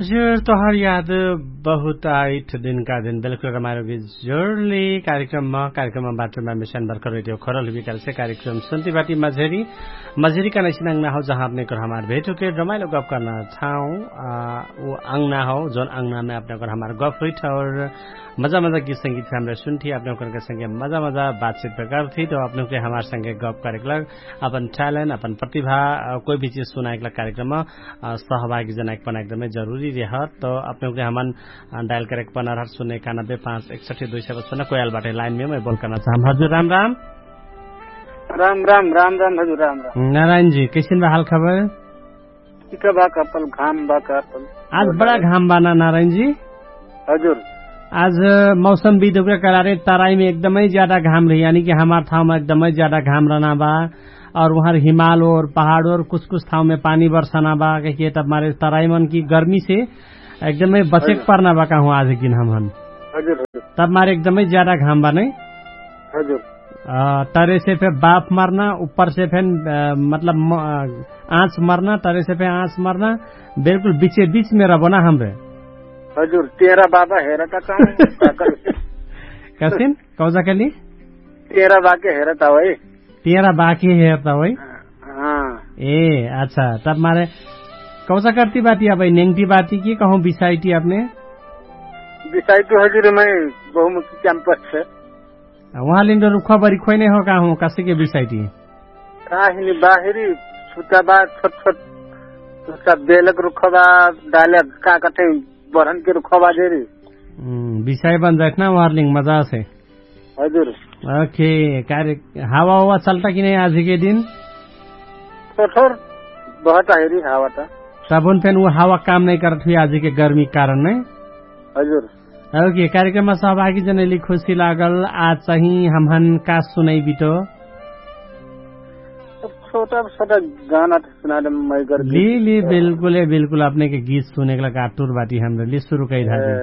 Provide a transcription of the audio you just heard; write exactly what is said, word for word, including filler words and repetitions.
हजुर, तोहर याद बहुत आइठ दिनका दिन बेलकुल रमाइलो गीत जोडली कार्यक्रममा। कार्यक्रममा बाटोमा मिसन बर्खर रेडियो खरल हुबिकालसे कार्यक्रम सुन्ती बाटी मझेरी। मझेरी का नैसिन अंगना हौ जहाँ अपने कर हमार भेट होके रमाइलो गप करना ठाउँ। उ अंगना हौ जौन अंगनामे अपने कर हमार गप हुइठ और मजा मजा गीत संगीत हमरे सुन्ठी अपने कर संगे मजा मजा बातचित प्रकार थी। तो अपने के हमार संगे गप करेक लग अपन टैलेन्ट अपन प्रतिभा कोई भी चिज सुनाएक लग कार्यक्रममा सहभागी जनाएक पना एकदमै जरुरी रेह। त अपने उके हमन डायल करेक पना रहत सुने एकानब्बे पाँच एकसठी दुई सय बच्चन कोयाल बाटे लाइनमे मै बोल करना चाहम। हजुर राम राम। राम राम राम राम हजुर राम राम। नारायण जी कैसिन बा हाल खबर? ठीक बा कपल घाम बा कपल। आज बडा घाम बा ना नारायण जी? हजुर। आज मौसम विदुके करारे तराईमे एकदमै ज्यादा घाम रही यानी कि हमार ठाउँमा एकदमै ज्यादा घाम रहना बा। और उहाँ हिमाल और पहाड और कुछ कुछ ठाउँमे पानी बर्सना बा कहिके तब मारे तराईमन कि गर्मीसे एकदमै बचेक पर्ना बा कहु आज किन हमहन। तब मारे एकदमै ज्यादा घाम बा नै? तरेसे फेर बाफ मर्ना उप्परसे फेर मतलब आँच मर्ना तरेसे फेर आँच मर्ना। बिल्कुल बिचे बिचमे रहबो ना हमरे। हजुर तेरा बाबा हेरता। कसिन कौजा कली? तेरा बाके हेरता होइ। तेरा बाके हेरता होइ। ए अच्छा तब मारे कौजा कर्ती बाटी अबै नेङ्टी बाटी कि कहौँ बिसाइटी अपने? बिसाइटी हजुर मै बहुमुखी क्याम्पस छ। उहाँ लिन्डो रुखा बरी खोइ नै हो का हौ कसिके बिसाइटी? काहिनी बाहिरी छुट्टा बा छोट छोट छुट्टा बेलक रुखा बा डालक का कठै बरहन के रुखा बा देरी। बिसाइ बन जाइट ना उहाँ लिङ मजा से। हजुर। ओके। कार्य हावा वावा चल्टा कि नै आजके दिन? थोर थोर बहुत आहिरी हावा त। तबुन फेन उ हावा काम नै करत हुइ आजके गर्मी कारण नै? हजुर। ओके। कार्यक्रममा सहभागी जनैली खुसी लागल। आज चाहिँ हमहन का सुनै बिटो? छोटा छोटा गाना त सुना दे मै कर। ली ली बिल्कुल है बिल्कुल अपने के गीत सुने के लगा आतुर बाटी हमरे ली सुरु कही धाजी।